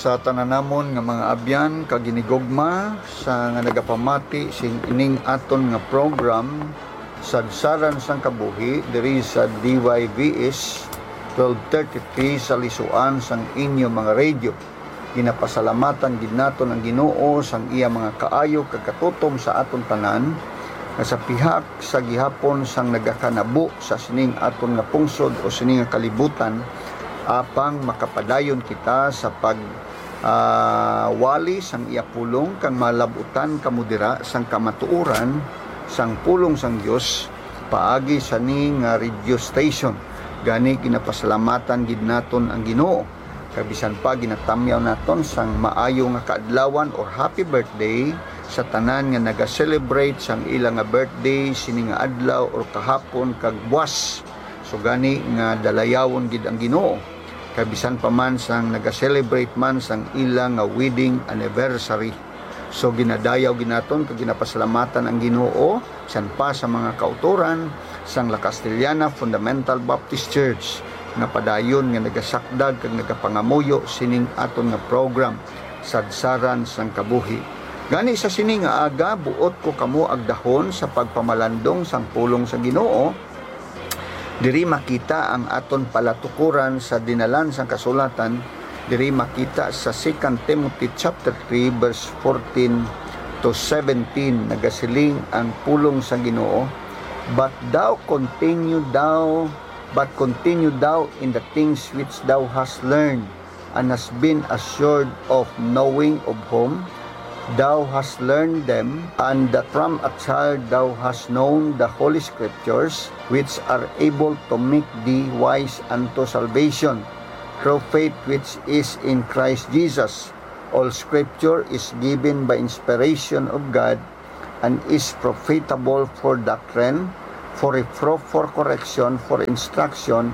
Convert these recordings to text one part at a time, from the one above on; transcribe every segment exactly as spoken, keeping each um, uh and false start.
Sa tanan namon nga mga abyan kag hinigugma sa nga nagapamati sing ining aton nga program, Sadsaran sang Kabuhi, diri sa D Y V S twelve thirty-three sa lisuan sang inyo mga radio. Ginapasalamatan gid naton ang Ginoo sang iya mga kaayo kag katutom sa aton tanan, nga sa pihak sa gihapon sang nagakanabo sa sining aton nga pungsod o sining nga kalibutan, apang makapadayon kita sa pag, ah, wali sang iya pulong kag malabutan kamo dira sang kamatuoran sang pulong sang Dios paagi sa ni nga radio station. Gani, ginapasalamatan gid naton ang Ginoo, kag bisan pa ginatamyaw naton sang maayo nga kaadlawan or happy birthday sa tanan nga naga-celebrate sang ila nga birthday sini nga adlaw or kahapon kag buwas. So gani nga dalayawon gid ang Ginoo, kag bisan pa man sang naga-celebrate man sang ila nga wedding anniversary. So ginadayaw gid naton kag ginapasalamatan ang Ginoo, bisan pa sa mga kautoran sang La Castellana Fundamental Baptist Church, nga padayon nga nagasakdag kag nagapangamuyo sining aton nga program, Sadsaran sang Kabuhi. Gani sa sini nga aga, buot ko kamo agdahon sa pagpamalandong sang pulong sa Ginoo. Diri makita ang aton palatukoran sa dinalan sang kasulatan. Diri makita sa Second Timothy chapter three, verse fourteen to seventeen. Nagasiling ang pulong sa Ginoo, "But thou continue thou, but continue thou in the things which thou hast learned, and hast been assured of, knowing of whom thou hast learned them, and that from a child thou hast known the holy scriptures, which are able to make thee wise unto salvation, through faith which is in Christ Jesus. All scripture is given by inspiration of God, and is profitable for doctrine, for reproof, for correction, for instruction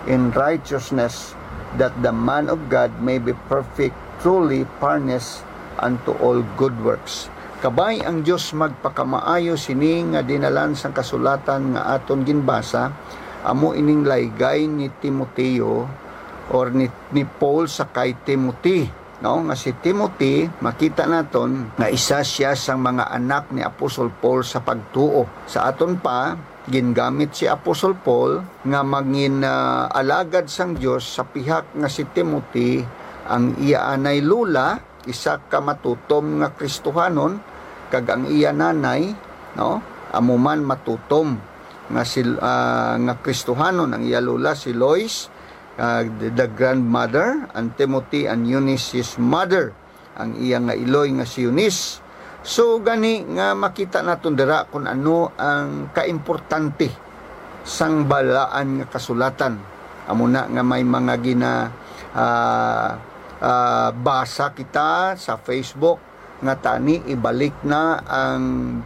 in righteousness, that the man of God may be perfect, truly furnished unto all good works." Kabay ang Dios magpakamaayo sini nga dinalan sang kasulatan nga aton ginbasa, amo ining laygay ni Timoteo or ni, ni Paul sa kay Timothy, no? Nga si Timothy, makita naton nga isa sia sang mga anak ni Apostol Paul sa pagtuo. Sa aton pa, gingamit si Apostol Paul nga mangin, ah, alagad sang Dios sa pihak nga si Timothy, ang iya anay lola, isa ka matutom nga Kristohanon, kag ang iya nanay, no, amo man matutom nga si, ah, nga Kristohanon. Ang iya lola si Lois, ah, the, the grandmother, and Timothy and Eunice, his mother, ang iya nga iloy nga si Eunice. So gani nga makita naton dira kung ano ang kaimportante sang balaan nga kasulatan. Amo na nga may mga gina, ah, ah, basa kita sa Facebook nga tani ibalik na ang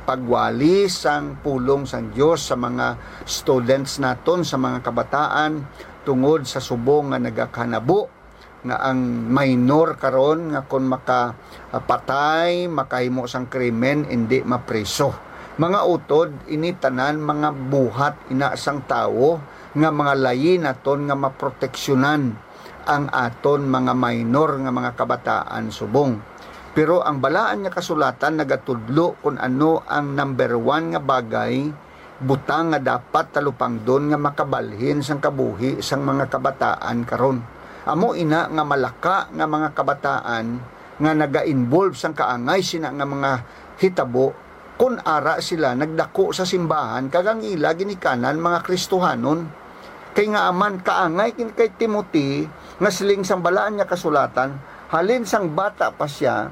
pagwali sang pulong sang Dios sa mga students naton, sa mga kabataan, tungod sa subong nga nagakanabo nga ang minor karon nga kon makapatay, makahimo sang krimen, indi mapriso. Mga utod, ini tanan mga buhat ina sang tawo nga mga layi naton nga maproteksyonan ang aton mga minor nga mga kabataan subong. Pero ang Balaan nga Kasulatan nagatudlo kon ano ang number one nga bagay, butang nga dapat talupangdon nga makabalhin sang kabuhi sang mga kabataan karon. Amo ina nga malaka nga mga kabataan nga naga-involve sang kaangay sina nga mga hitabo, kun ara sila nagdako sa simbahan kag ang ila ginikanan mga Kristohanon. Kay ngaa man, kaangay gid kay Timothy nga siling sang Balaan nga Kasulatan, halin sang bata pa sia,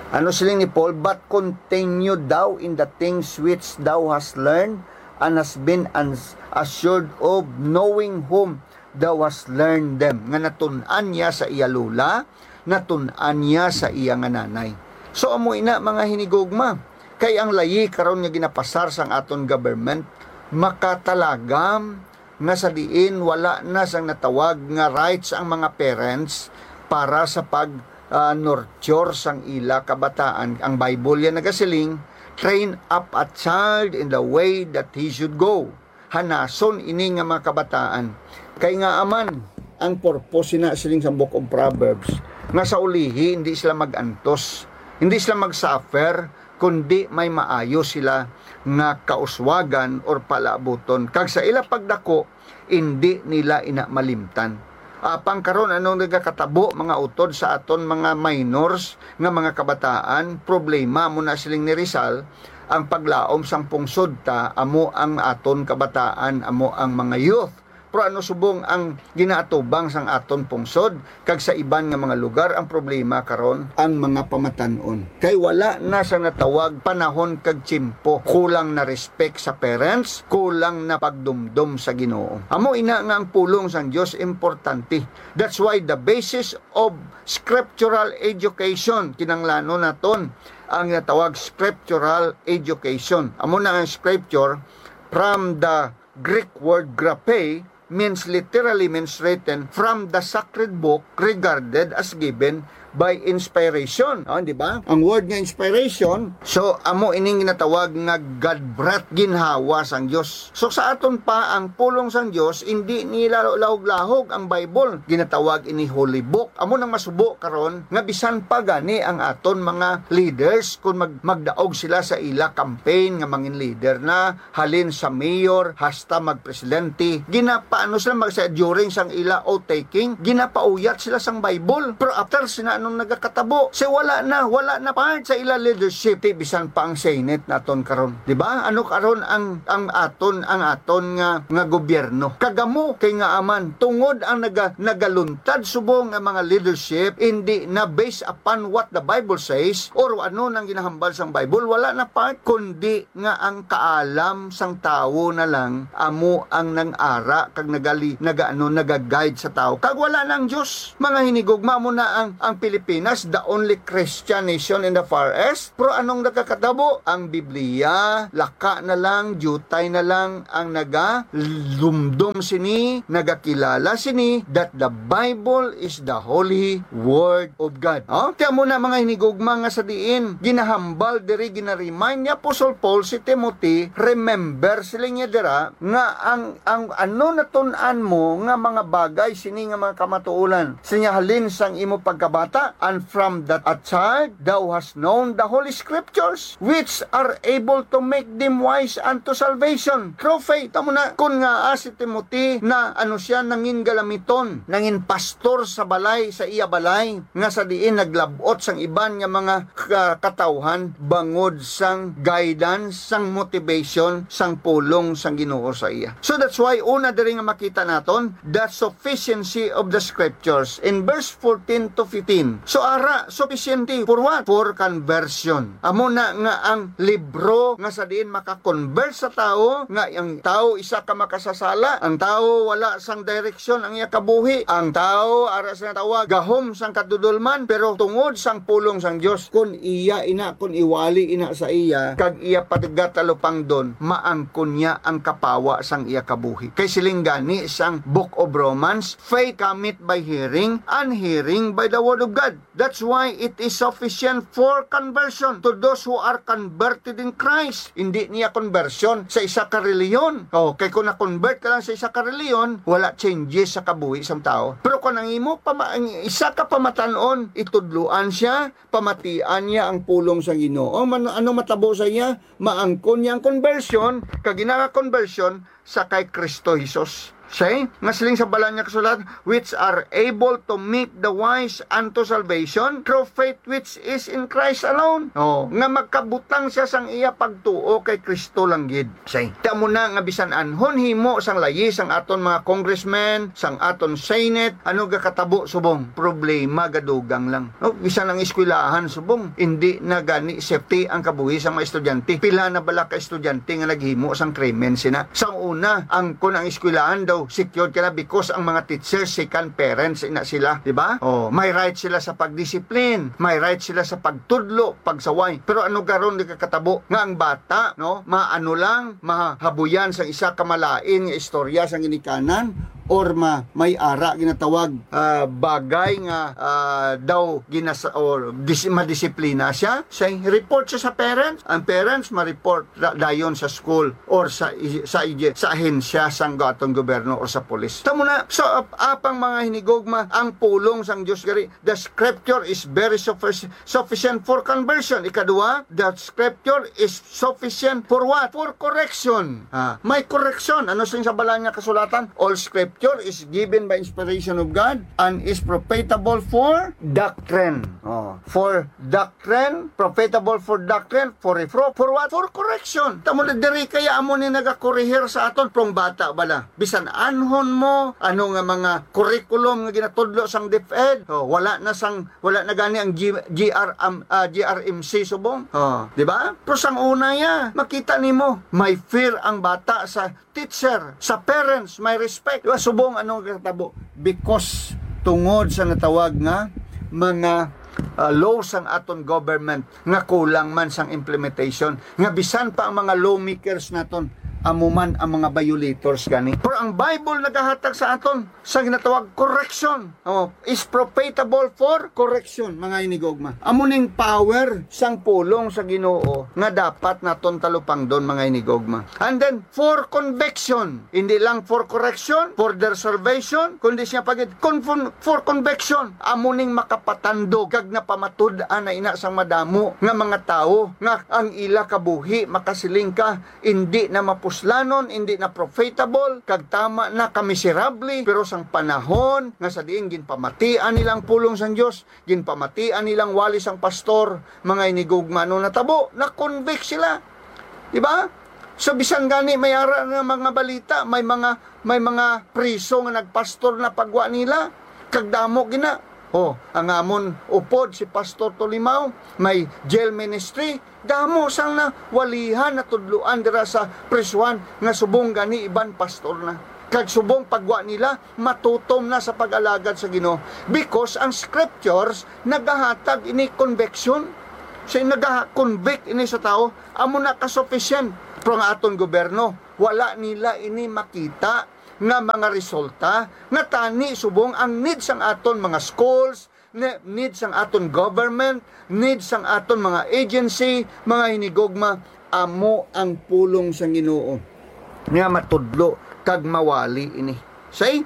ano siling ni Paul, "But continue thou in the things which thou hast learned, and hast been ans-, assured of, knowing whom thou hast learned them." Nga natun-an niya sa iya lola, natun-an niya sa iya nga nanay. So, amo ina, mga hinigugma, kay ang layi karon nga ginapasar sang aton government makatalagam nga sa diin wala na sang natawag nga rights ang mga parents para sa pag, ah, nurture sang ila kabataan. Ang Bible yan nagasiling, "Train up a child in the way that he should go." Hanason ini nga mga kabataan. Kay ngaa man, Ang purpose sina siling sa Book of Proverbs, nga sa ulihi hindi sila mag-antos, hindi sila mag-suffer, kundi may maayo sila nga kauswagan or palaabuton. Kag sa ila pagdako, indi nila ina malimtan. Apang karon, anong nagakatabo, mga utod, sa aton mga minors nga mga kabataan? Problema mo na siling ni Rizal, ang paglaom sang pungsod ta amo ang aton kabataan, amo ang mga youth. Pero ano subong ang ginaatubang sang aton pungsod kag sa iban nga mga lugar? Ang problema karon, ang mga pamatan-on. Kay wala na sa natawag panahon kag tiyempo, kulang na respect sa parents, kulang na pagdumdom sa Ginoo. Amo ina nga ang pulong sang Dios importante. That's why the basis of scriptural education, kinahanglanon naton ang natawag scriptural education. Amo na ang scripture, from the Greek word graphe, means, literally means written from the sacred book regarded as given by inspiration. Oh, di ba? Ang word nga inspiration, so amo ining ginatawag nga God breath, ginhawa sang Dios. So sa aton pa, ang pulong sang Dios, hindi nila lahog-lahog ang Bible. Ginatawag ini holy book. Amo nang masubo karon nga bisan pa gani ang aton mga leaders, kung mag-, magdaog sila sa ila campaign nga mangin leader na, halin sa mayor hasta magpresidente, ginapaano sila mag-, sa, during sang ila oath taking, ginapauyat sila sang Bible. Pero after sina, anong nagakatabo? Sa wala na, wala na part sa ila leadership, ti bisan pa ang Senate naton karon. Di ba? Ano karon ang, ang aton, ang aton nga, nga gobyerno? Kagamo kay nga aman, tungod ang naga-, nagaluntad subong nga mga leadership, hindi na based upon what the Bible says or ano nang ginahambal sang Bible, wala na part, kundi nga ang kaalam sang tawo na lang amo ang nang-ara kag nagali-, nagaano, naga-guide sa tawo. Kag wala na ang Dios. Mga hinigugma, mo na ang, ang Pilipinas, the only Christian nation in the Far East. Pero anong nakakatabo? Ang Biblia, laka na lang, diutay na lang ang nagalumdom sini, nagakilala sini, that the Bible is the holy word of God. Oh? Kaya mo na, mga hinigugma, nga sa diin ginahambal diri, ginaremind ni Apostle Paul si Timothy, remember, siling niya dira, nga ang, ang ano natun-an mo nga mga bagay sini nga mga kamatuoran, sinya, halin sang imo pagkabata, and from that a child thou hast known the holy scriptures, which are able to make them wise unto salvation through faith. Tamo na, kun nga, ah, si Timothy na, ano siya, nangin galamiton, nangin pastor sa balay, sa iya balay, nga sa diin naglab-ot sang iban nga mga ka-, katawhan bangod sang guidance, sang motivation, sang pulong sang Ginoo sa iya. So that's why una diri nga makita naton the sufficiency of the scriptures in verse fourteen to fifteen. So ara, sufficiency for what? For conversion. Amo na nga ang libro nga sa diin maka-convert sa tawo, nga ang tawo isa ka makasasala, ang tawo wala sang direk- direksyon ang iya kabuhi. Ang tawo, ara sa tawag, gahom sang kadudolman, pero tungod sang pulong sang Dios, kun iya ina, kun iwali ina sa iya, kag iya pagatalupangdon, maangkon niya ang kapawa sang iya kabuhi. Kay siling gani sang Book of Romans, "Faith cometh by hearing, and hearing by the word of God." That's why it is sufficient for conversion to those who are converted in Christ. Hindi niya conversion sa isa ka reliyon. Oh, kay kung na-convert ka lang sa isa ka reliyon, wala changes sa kabuhi sang tawo. Pero kung ang imo pama-, ang isa ka pamatan-on, itudloan siya, pamatian niya ang pulong sa Ginoo. Man-, ano matabo sa iya? Maangkon niya ang conversion, kag ina nga conversion, sa kay Kristo Jesus. Say, nga siling sa Balaan nga Kasulatan, "Which are able to make the wise unto salvation through faith which is in Christ alone." Oh, nga magkabutang siya sang iya pagtuo kay Kristo lang gid. Say, tamo na nga bisan anhon himo sang layi sang aton mga congressmen, sang aton Senate, ano gakatabo subong? Problema, gadugang lang. No, bisan ang eskwelahan subong, hindi na gani safety ang kabuhi sa mga estudyante. Pila na bala ka estudyante nga naghimo sang krimen sina? Sa una, ang, kun ang eskwelahan daw, secured ka na because ang mga teachers, second parents na sila, di ba? Oh, may right sila sa pagdisiplin, may right sila sa pagtudlo, pagsaway. Pero ano karon nagakatabo nga ang bata, no, maano lang, mahabuyan sang isa ka malain nga istorya sang ginikanan, or ma-, may ara ginatawag, ah, bagay nga, ah, daw ginas-, or dis-, madisiplina siya, say, report siya sa parents. Ang parents ma-report ra-, dayon sa school or sa i-, sa i-, sa ahensya sang aton gobyerno or sa pulis. Tamo na, so, ap-, apang mga hinigugma, ang pulong sang Dios gari, the scripture is very suffic-, sufficient for conversion. Ikaduha, the scripture is sufficient for what? For correction. Ah, may correction. Ano sing sa Balaan nga Kasulatan? "All scripture is given by inspiration of God and is profitable for doctrine." Oh, for doctrine, profitable for doctrine, for reproof, for what? For correction. Tamo na diri kaya amo ni nagakorehir sa aton. Prong bata bala. Bisan anhon mo, ano nga mga curriculum nga ginatudlo sang DepEd, oh, wala na sang, wala na gani ang G-, G R, um, ah, G R M C subong. Oh, di ba? Pero sang una ya, makita nimo, may fear ang bata sa teacher, sa parents, may respect. Di ba? Subong ano ang katabo? Because tungod sa natawag nga mga, ah, law sang aton government nga kulang man sang implementation, nga bisan pa ang mga lawmakers naton, amo man ang mga violators gani. Pero ang Bible nagahatag sa aton sa ginatawag correction. Oh, is profitable for correction, mga hinigugma. Amo ning power sang pulong sa Ginoo nga dapat naton talupangdon, mga hinigugma. And then, for conviction, hindi lang for correction, for their salvation, kundi siya pagid, con-, for conviction, amo ning makapatandog kag napamatud-an na ina sang madamo nga mga tawo nga ang ila kabuhi makasiling ka, indi na mapuslanon, indi na profitable, kag tama na kamiserable. Pero sang panahon nga sa diin ginpamatian nila ang pulong sang Dios, ginpamatian nila ang wali sang pastor, mga hinigugma, ano natabo? Na-convict sila. Di ba? So, bisan gani may ara nga mga balita, may mga, may mga priso nga nagpastor na pagwa nila, kag damo gina. Oh, ang amon upod si Pastor Tolimaw, may jail ministry, damo sang nawalihan, natudloan dira sa prisuhan nga subong gani iban pastor na. Kag subong pagwa nila, matutom na sa pag-alagad sa Ginoo. Because ang scriptures nagahatag ini conviction. Say, nagaha-convict ini sa tawo, amo na ka-sufficient. Pero ang aton gobyerno, wala nila ini makita nga mga resulta, nga tani subong ang need sang aton mga schools, ne-, need sang aton government, need sang aton mga agency, mga hinigugma, amo ang pulong sang Ginoo nga matudlo kag mawali ini. Say?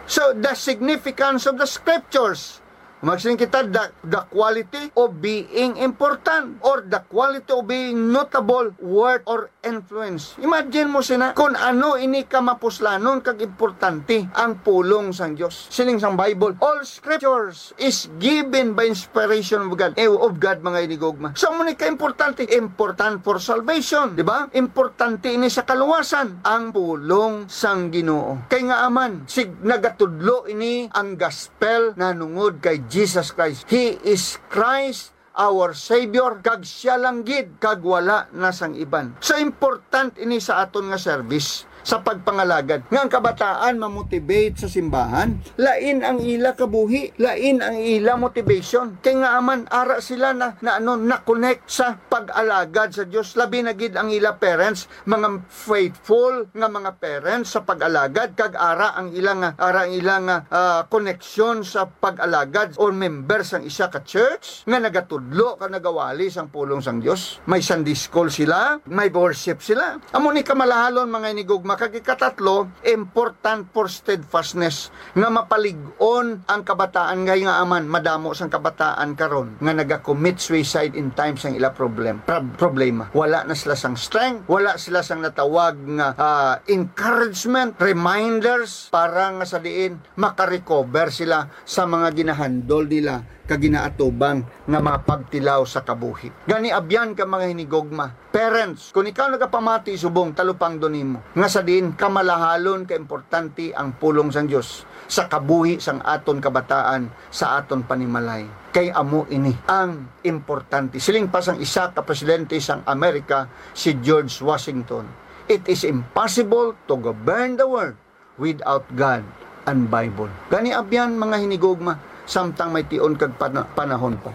So, the significance of the scriptures. Magsiling kita, the, the quality of being important or the quality of being notable, worth, or influence. Imagine mo sina, kung ano ini ka mapuslanon kag importante ang pulong sang Dios. Siling sang Bible, "All scriptures is given by inspiration of God." Eh, of God, mga hinigugma. So, amo ni ka importante, important for salvation, di ba? Importante ini sa kaluwasan, ang pulong sang Ginoo. Kay nga aman, sig nagatudlo ini ang gospel nanungod kay Jesus Christ. He is Christ, our Savior, kag siya lang gid, kag wala na sang iban. So, important ini sa aton nga service, sa pagpangalagad, nga ang kabataan ma-motivate sa simbahan. Lain ang ila kabuhi, lain ang ila motivation. Kay nga aman, ara sila na, na, ano, na-connect sa pag-alagad sa Dios, labi na gid ang ila parents, mga faithful nga mga parents sa pag-alagad, kag ara ang ila nga, ara ang ila nga, ah, koneksyon sa pag-alagad or member sang isa ka church nga nagatudlo kag nagawali sang pulong sang Dios. May Sunday school sila, may worship sila. Amo ni kamalahalon, mga hinigugma. Kag ikatatlo, important for steadfastness, nga mapalig-on ang kabataan. Kay nga aman, madamo sang kabataan karon nga naga-commit suicide in times sang ila problem, prob-, problema. Wala na sila sang strength, wala sila sang natawag nga, ah, encouragement, reminders, para nga sa diin makarecover sila sa mga ginahandol nila kag ginaatubang nga mga pagtilaw sa kabuhi. Gani, abyan ka, mga hinigugma. Parents, kung ikaw nagapamati subong, talupangdon nimo nga sa diin kamalahalon ka importante ang pulong sang Dios sa kabuhi sang aton kabataan, sa aton panimalay. Kay amo ini ang importante. Siling pa sang isa ka presidente sang Amerika, si George Washington, "It is impossible to govern the world without God and Bible." Gani, abyan, mga hinigugma, samtang may tion kag pana-, panahon pa.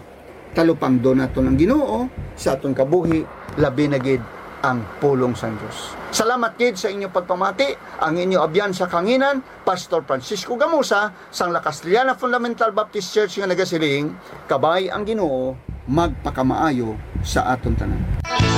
Talupangdon naton ang Ginoo sa aton kabuhi, labi na gid ang pulong sang Dios. Salamat gid sa inyo pagpamati. Ang inyo abyan sa kanginan, Pastor Francisco Gamusa, sang La Castellana Fundamental Baptist Church, nga nagasiling, Kabay ang Ginoo magpakamaayo sa aton tanan.